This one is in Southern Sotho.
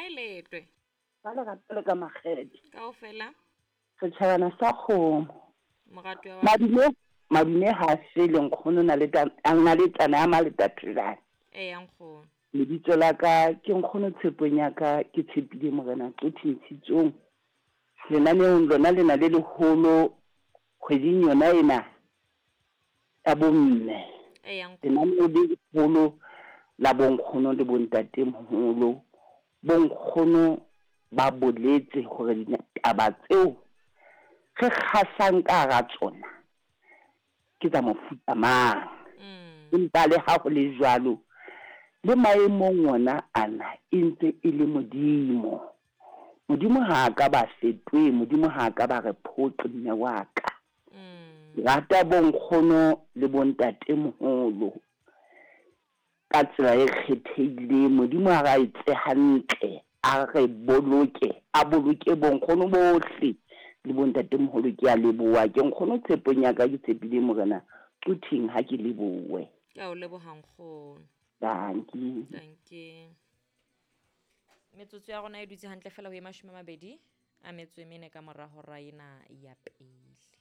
Kae letwe? Ba lerato le ka makgethe. Kaofela. Setjhabana sa kgomo. Moratuwa wa. Madume, madume ha a fele nkgono na le na le tsana ya maletatolane. Eya nkgono. Lebitso la ka ke nkgono tshepong ya ka ke tshepile Morena Qothi Ntshitsong. Lenaneong lona lena le leholo kgweding yona ena ya bomme. Eya nkgono. Lenaneo le leholo la bonkgono le bontatemoholo. Bonkgono ba boletse hore ditaba tseo re kgasang ka hara tsona ke tsa mofuta mang. Empa le ha ho le jwalo, le maemong wona ana e ntse e le Modimo. Modimo ha a ka ba fetohe, Modimo ha a ka ba re phoqe mme wa ka. Ke rata bonkgono le bontatemoholo. Ka tsela e kgethehileng, Modimo a re etse hantle, a re boloke, a boloke bonkgono bohle le bontatemoholo. Ke a leboha. Ke nkgono tshepong ya ka, ke tshepile Morena Quthing ha ke lebohe. Ke a o leboha nkgono. Dankie. Dankie. Metsotso ya rona e dutse hantle fela ho e 28 ka mora hora ena ya pele.